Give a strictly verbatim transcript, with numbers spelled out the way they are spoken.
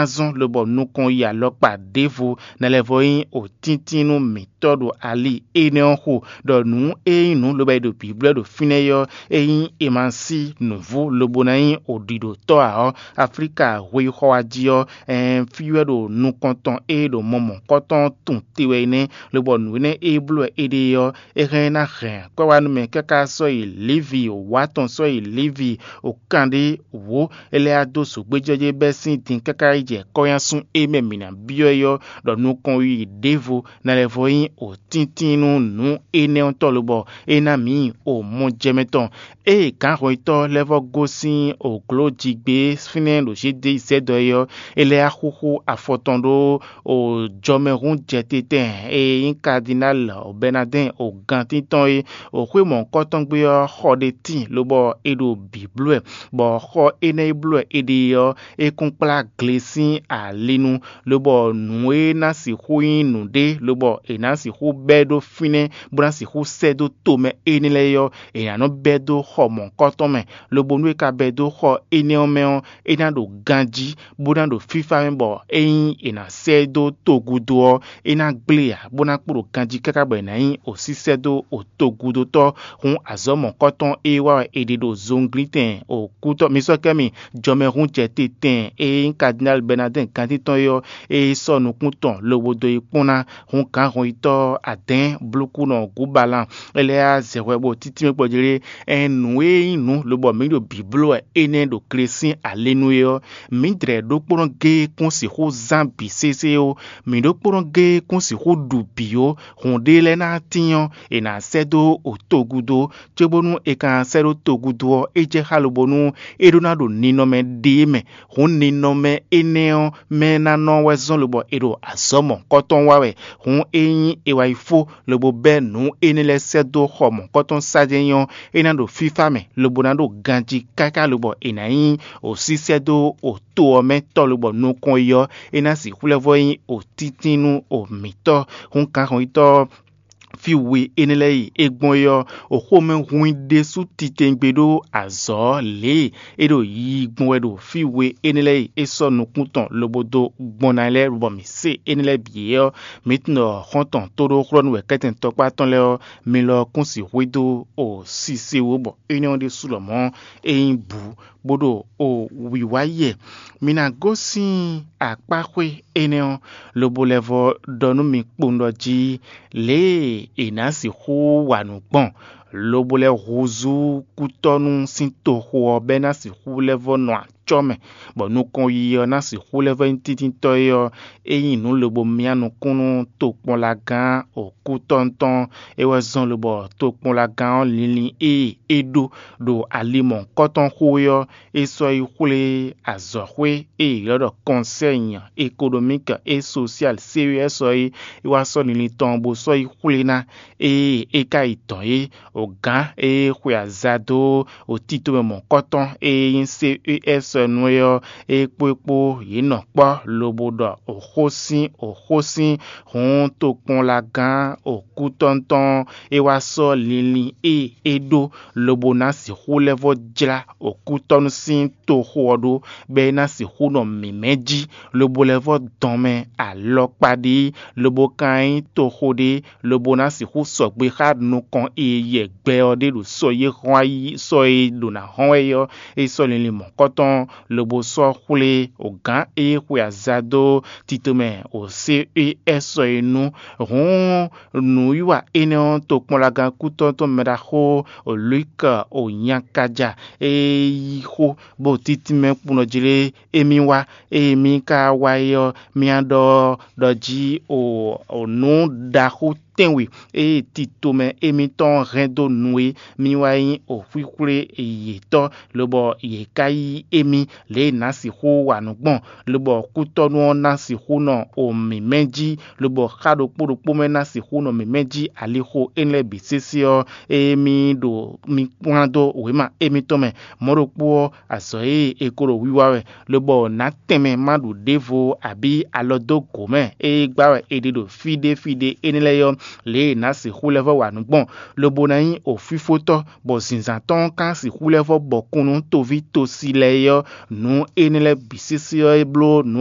ná zɔ́n lobɔ nukɔn yi alɔkpa ɖěvo ná lɛ́ vɔ nyí òtíntínnú mǐtɔn ɖo ali énɛ́ ɔ́ xo, ɖɔ nǔ e nyí nǔ lobo e ɖo bǐblɔ́ ɖo fínɛ́ ɔ́, é nyí e ma sí nǔvú lobo ná nyí òɖiɖotɔ́ ǎ ɔ́, Aflíka hweyixɔ wá jí ɔ́, ɛɛn fí wɛ ɖo nukɔn tɔn e ɖo mɔ mɔ̌kɔtɔn tun te wɛ é nɛ́, lobɔ nǔ énɛ́ e bló wɛ é ɖe ɔ́, é hɛn ná hɛn akwɛ́ wá nú mɛ káká sɔ́ yi Livi wǎ tɔn sɔ́ yi Livi wǒ kan ɖé wǒ, é lɛ́ wá dó zǒgbéjɛ́jɛ́ bɛ́ sín din káká yi jɛ kɔ́nyásún e mɛ mǐ ná byɔ́ é ɔ́, ɖɔ nukɔn yi ɖěvo ná lɛ́ vɔ nyí òtíntín nú nǔ énɛ́ ɔ́ tɔn lobɔ é ná mǐ o mɔjɛmɛ tɔn. Ée gǎnhwɛntɔ́ lɛ́ vɔ gosín òglǒjigbé fínɛ́ ɖo Judée sɛ́dɔ é ɔ́, é lɛ́ wá xúxú afɔ tɔn ɖó o jɔmɛhúnjɛtetɛn e nyí Kadinal Bɛnadɛ́n o gantín tɔn é, o xwé mɔ̌hunkɔtɔn gbe ɔ́ xɔ ɖé tíin lobɔ è ɖo bǐ bló wɛ, bɔ xɔ énɛ́ e bló wɛ è ɖe ɔ́, é kún kplá gle sín ali nu, lobɔ nǔ e ná sixú nyí nǔɖé lobɔ è nǎ sixú bɛ́ ɖó fínɛ́ bó ná sixú sɛ́ dó tomɛ énɛ́ lɛ́ɛ ɔ́, è nǎ nɔ bɛ́ dó xɔ mɔ̌hunkɔtɔn mɛ, lobo nú è ka bɛ́ dó xɔ énɛ́ ɔ́ mɛ ɔ́, é ná ɖo ganjí, bó ná ɖo fífá mɛ bɔ ényí è nǎ sɛ́ ɛ dó togúdo ɔ́, é ná gblé ǎ, bó ná kpo ɖo ganjí káká bɔ è nǎ nyí òsísɛ́ dó òtogúdotɔ́. Hǔn azɔ̌ mɔ̌kɔtɔn e wá wɛ è ɖe ɖo zɔnglítɛn òkútɔ́ mi sɔ́ kɛ́ mi jɔmɛhúnjɛtetɛn e nyí Kadinal Bɛnadɛ́n gantíntɔ́n é ɔ́, é sɔ́ nukún tɔn lobo dó yi kpɔ́n ná. Hǔn gǎnhɔnyitɔ́ adɛ̌ɛn blúkúnɔ Gǔbalan é lɛ́ yá zɛ hwɛ bó títí mɛ kpɔ́ jlé. Ɛn nǔ e nyí nǔ lobɔ mǐ ɖo bǐ bló wɛ énɛ́ ɖo gle sín alenu é ɔ́, mǐdɛɛ ɖokpónɔ géé kún sixú zán bǐ sésé ó; mǐ ɖokpónɔ géé kún sixú ɖu bǐ ó. Hǔn ɖé lɛ́ɛ ná tín ɔ́, è nǎ sɛ́ dó togudo, cóbónú è ka sɛ́ ɖó togudo ɔ́, é jɛ xá lobo nú é ɖó ná ɖo ninɔmɛ ɖé mɛ. Hǔn ninɔmɛ énɛ́ ɔ́ mɛ ná nɔ wɛ zɔ́n lobɔ è ɖo azɔ̌ mɔ̌kɔtɔn wa wɛ. Hǔn ényí è wá yi fó lobo bɛ́ nǔ énɛ́ lɛ́ɛ sɛ́ dó xɔ mɔ̌kɔtɔn sá jɛ́n nyí ɔ́, é ná ɖo fífá mɛ, lobo ná ɖo ganjí káká lobɔ è nǎ nyí òsísɛ́ dó to ɔ́ mɛ tɔ́ lobɔ nukɔn yi ɔ́, é ná sixú lɛ́ vɔ nyí òtítínú o mǐtɔn. Hǔn kanxɔnyitɔ́ ɔ́, fí we énɛ́ lɛ́ɛ yi é gbɔn é ɔ́, oxomɛ hun i ɖésú titewungbe ɖó azɔ̌ lě e é ɖo yiyi gbɔn wɛ ɖo fí we énɛ́ lɛ́ɛ yi é sɔ́ nukún tɔn lobo dó gbɔn ná lɛ́ɛ bɔ mǐ se énɛ́ lɛ́ɛ bǐ é ɔ́, mǐ tunwun ɖɔ xɔ́ntɔn tóɖóxlɔ́nú wɛ kɛ́tɛn tɔkpá tɔn lɛ́ɛ ɔ́, mi lɔ kún sixú dó o sise wú bɔ énɛ́ ɔ́ ɖésú lɔmɔ̌ é nyí bǔ, bó ɖo o wǐwá yɛ. Mi ná gosín akpáxwé énɛ́ ɔ́, lobo lɛ́ vɔ ɖɔ nú mi kpowun ɖɔ jí lě e è nǎ sixú wa nǔ gbɔn, lobo lɛ́ húzú kútɔ́nú sín toxo ɔ́ bɔ é ná sixú lɛ́ vɔ nɔ acɔ́ mɛ, bɔ nukɔn yiyi ɔ́ ná sixú lɛ́ vɔ nyí tíntítɔ́ é ɔ́, é nyí nǔ lobo myá nukún nú tokpɔnlagán òkútɔ́ntɔn. É wɛ zɔ́n lobɔ tokpɔnlagán ɔ́ linlin e é ɖó ɖo ali mɔ̌hunkɔtɔn xo é ɔ́, é sɔ́ yi xwlé azɔ̌xwé e è ylɔ́ ɖɔ Conseil économique et social, C E S, ɔ́ é, é wá sɔ́ linlin tɔn bó sɔ́ yi xwlé ná. Ée é ka yi dɔ̌n é, o gǎn e xwe aza dó o tito mɛ mɔ̌kɔtɔn e nyí C E S nu é ɔ́, é kpó é kpó yě nɔ kpɔ́ lobo ɖɔ òxó sín òxó sín. Hǔn tokpɔnlagán òkútɔ́ntɔn é wá sɔ́ linlin e é ɖó lobo ná sixú lɛ́ vɔ jlá òkútɔ́nú sín toxo ɔ́ ɖó, bɔ é ná sixú nɔ mǐmɛ́ jí, lobo lɛ́ vɔ dɔn mɛ alɔkpa ɖé, lobo ka nyí toxo ɖé, lobo ná sixú sɔgbe xá nukɔn e yɛ gbɛ ɔ́ ɖe ɖo sɔ e hɔn ayí sɔ e ɖo ná hɔn wɛ é ɔ́, é sɔ́ linlin mɔ̌kɔtɔn, lobo sɔ́ xwlé o gǎn e xwe aza dó tito mɛ o C E S ɔ́ é nu. Hǔn nǔwiwa énɛ́ ɔ́ tokpɔnlagán kútɔ́ tɔn mɛ ɖaxó o Luke o nyakaja e yí xó bó títí mɛ kpun ɔ́ jlé émí wá. Ée mí ka wá é ɔ́, mía ɖɔ ɖɔ jí o nǔ ɖaxó tɛ́nwe e tito mɛ émítɔn hɛn dó nu é, mí wá nyí o xwíxwlé yětɔn, lobɔ yě ka yí émí lě e nǎ sixú wa nǔ gbɔn, lobɔ kútɔ́nú ɔ́ ná sixú nɔ o mǐmɛ́ jí, lobɔ xá ɖokpó ɖokpó mɛ ná sixú nɔ mǐmɛ́ jí alixo énɛ́ lɛ́ɛ bǐ sésé ɔ́, ée mí ɖo mi kplán dó wěma émítɔn mɛ. Mɔ̌ ɖokpó ɔ́, azɔ̌ e è ko ɖo wiwa wɛ, lobɔ nǎ tɛnmɛ ma ɖu ɖěvo abǐ alɔ dó gǒ mɛ e gbá wɛ è ɖe ɖo fí ɖé fí ɖé énɛ́ lɛ́ɛ ɔ́, lě e è nǎ sixú lɛ́ vɔ wa nǔ gbɔn, lobo ná nyí òfífótɔ́, bɔ zǐnzán tɔn ɔ́ ka sixú lɛ́ vɔ bɔkun nú toví tosi lɛ́ɛ é ɔ́, nǔ énɛ́ lɛ́ɛ bǐ sésé ɔ́ é bló nǔ